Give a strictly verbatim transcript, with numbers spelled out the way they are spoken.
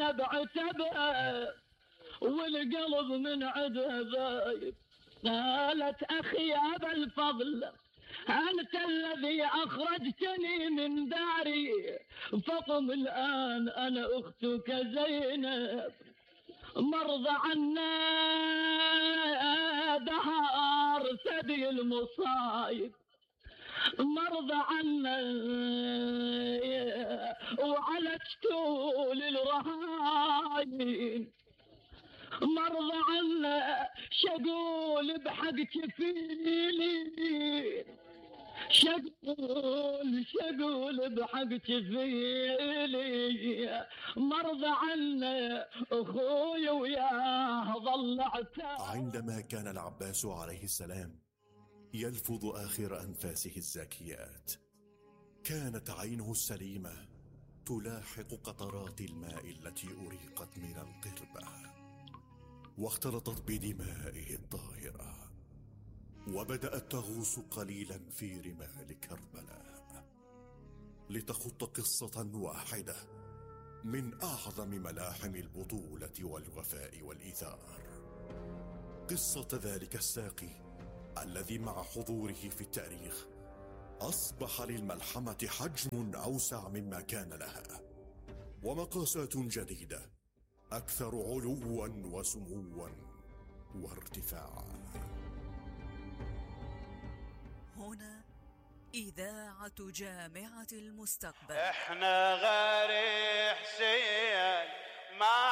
انا بعتبها والقلب من عدها ذايب. قالت اخي يا ابا الفضل انت الذي اخرجتني من داري، فقم الان انا اختك زينب، مرضى عنا دهار سدي المصايب، مرضى عنا وعلجتوا للرهاين، مرضى عنا شقول بحق جفيلي، شقول شقول بحق جفيلي، مرضى عنا اخوي وياه ظل عتاب. عندما كان العباس عليه السلام يلفظ آخر أنفاسه الزاكيات، كانت عينه السليمة تلاحق قطرات الماء التي أريقت من القربة واختلطت بدمائه الطاهرة، وبدأت تغوص قليلا في رمال كربلاء لتخط قصة واحدة من أعظم ملاحم البطولة والوفاء والإيثار، قصة ذلك الساقي الذي مع حضوره في التاريخ أصبح للملحمة حجم أوسع مما كان لها، ومقاسات جديدة أكثر علوا وسموا وارتفاعا. هنا إذاعة جامعة المستقبل. احنا غير حسين ما